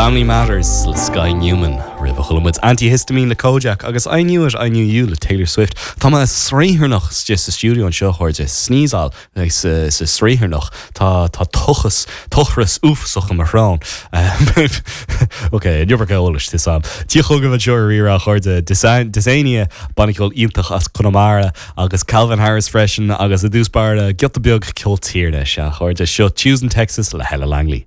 Family Matters le Sky Newman. Roimhe chuala muid Antihistamine le Kojaque agus I Knew It, I Knew You le Taylor Swift. Tá mé sraotharnach istigh sa stiúideo anseo, a chairde. Sneezáil sa sraotharnach. Tá tá tochas, tochras uafásach i mo shrón. Ok, an iomarca eolais, tá 'fhios a'm. Tig chugaibh anseo ar Rí-Rá, a chairde. Dysania, banna ceoil iontach as Conamara, agus Calvin Harris freisin, agus i dtús báire, giota beag ceol tíre, sea, a chairde. Seo Tuesdays in Texas le Hella Langley.